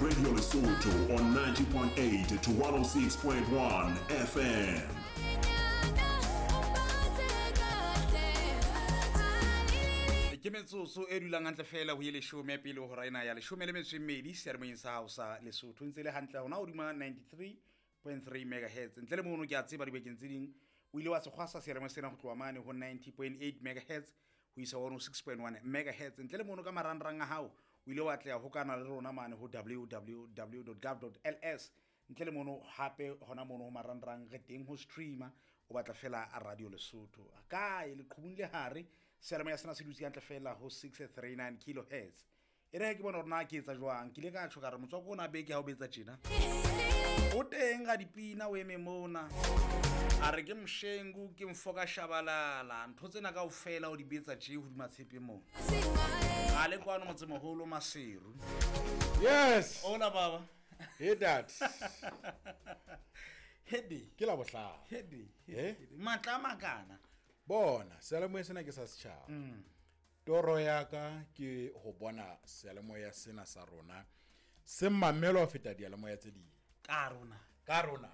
Radio Lesotho on 90.8 to 106.1 FM. Ke metsotso e dulang hantle fela ho ye leshome pele hora ena ya leshome le metso e mmedi seyalemoyeng sa hao sa Lesotho ntse le hantle hona hodima 93.3 megahertz. Ntle le mono ke a tseba dibekeng tse ding o ile wa se kgwasa seyalemoya sena ho tloha mane ho 90.8 megahertz ho isa 106.1 megahertz. Ntle le mono ka marangrang a hao o ile wa atleha hokana le rona mane ho www.gov.ls. Ntle le mono hape hona mono ho marangrang re teng ho streamer, o batla fela a Radio Lesotho kae leqhubung le hare. Seyalemoya sena se dutse hantle fela ho 639 kilohertz. E re ke bona hore na ke etsa jwang, ke ile ka tjho ka re motswako ona beke ha o betsa tjena o teng ga dipina o eme mona a re ke mshengu ke mfoka shabalala ntho tsena kaofela o di betsa tje hodima tshepe mona a le kwano motsemoholo Maseru. Yes. Hola baba. Hey dad. Hede. Ke la bohlano. Hede. Eh? Matla a makana. Bona, seyalemoya sena ke sa setjhaba. Toro ya ka ke ho bona seyalemoya sena sa rona se mamelwa ho feta diyalemoya tse ding. Ka rona. Ka rona.